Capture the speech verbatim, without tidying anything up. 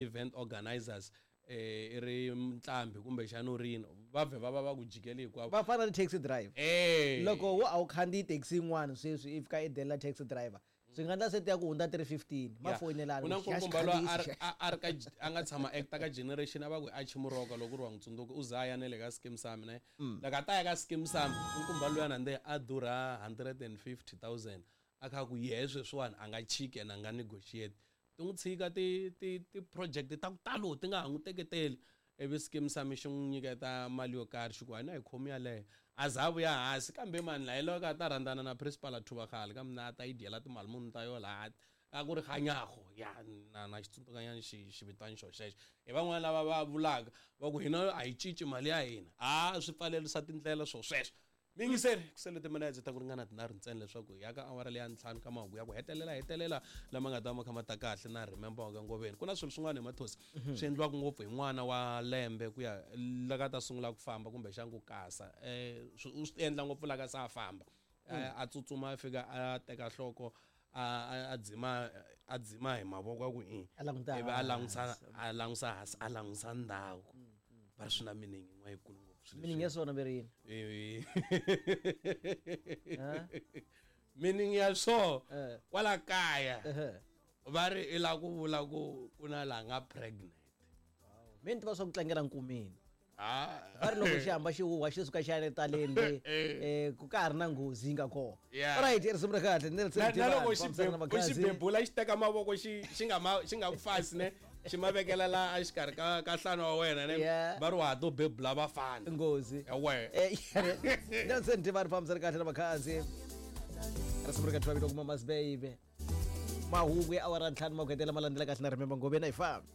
Event organizers eh i ri mutlambi kumbexana u ri yini, va vhe va va va ku jikeli hinkwavo. Va fana na taxi driver. Eh. Loko wo a wu khandziyi taxi yin'wana sweswi i fika i delela taxi driver, swi nga endla se ti ya ku hundza three fifteen ma Yeah. foyinelana Ku na ku xa nkulukumba loyi a xikhandziyi ri- a a ri ka a nga tshama acta ka Generation, a va ku i Archie Moroka, loko ku ri wa n'wi tsundzuka, u za a ya na le ka Skeem Saam ne. Loko a ta ya ka Skeem Saam, nkumba luyana nde a durha hundred and fifty thousand, a kha ku yehe sweswiwani a nga chiki and a nga negotiate. Ti n'wi tshika ti ti ti-project ta ku talo ti nga ha n'wi teketeli, ivi Skeem Saam xi n'wi nyiketa mali yo karhi, xi ku a na hi khomi yaleyo, a za a vuya hansi. Kambe mani laha loko a ta rhandzana na principal a thuva khale kambe na a ta yi dyela timali muni ta yo laha a ku ri kganyago ya na na xitsundzukanyana xi xivitani xo xexo. Hi van'wani lava va vulaka va ku hina a hi cinci mali ya hina, a swi pfalerisa tindlela swo sweswo. Miyingiseri, ku sele timinetse ta ku ringana tinharhu ntsena leswaku hi ya ka awara leya ntlhanu ka mahungu ya ku hetelela hetelela lama nga ta ma kha ma ta kahle na Remember wa ka Ngoveni. Ku na swilo swin'wana hi Mathosi swi endliwaka ngopfu hi n'wana wa lembe ku ya laka ta sungula ku famba kumbexana ku kasa. Eh, u swi endla ngopfu laka se a famba. Eh, a tsutsuma a fika a teka nhloko, a, a, a dzima, a dzima hi mavoko ya ku i. A languta Ivi a langusa, hansi. a langusa hansi, a langusa ndhawu. Va ri swi na meaning yin'wana yikulu ngopfu swilo Meaning leswi. ya swona ve ri yini? Eh. Ha? Meaning ya swo Eh. kwala kaya Ehe. va ri i la ku vula ku ku na la nga pregnant. Mina ni tiva swa ku tlangela nkumeni. Ah. Va ri loko xi hamba xi huhwa xi suka xi ya le taleni le, eh, ku ka ha ri na nghozi yi nga kona. Yeah. Alright, i risimu ra kahle, Nelson Na, na Tivani, loko xi fambisana na bebula, xi Makhadzi. bebula xi teka mavoko xi, xi nga ma, xi nga ku fasi ne, xi ma vekela la exikarhi ka, ka nhlana wa wena ne. Yeah. Va ri wa ha to bebula vafana. Nghozi. Ewe. Eh, Nelson Tivani, fambisana kahle na Makhadzi. Risimu ra kahle va vito ku Mama's Baby. Mahungu ya awara ntlhanu ma ku hetelela ma landzela kahle na Remember Ngoveni, a hi fambi.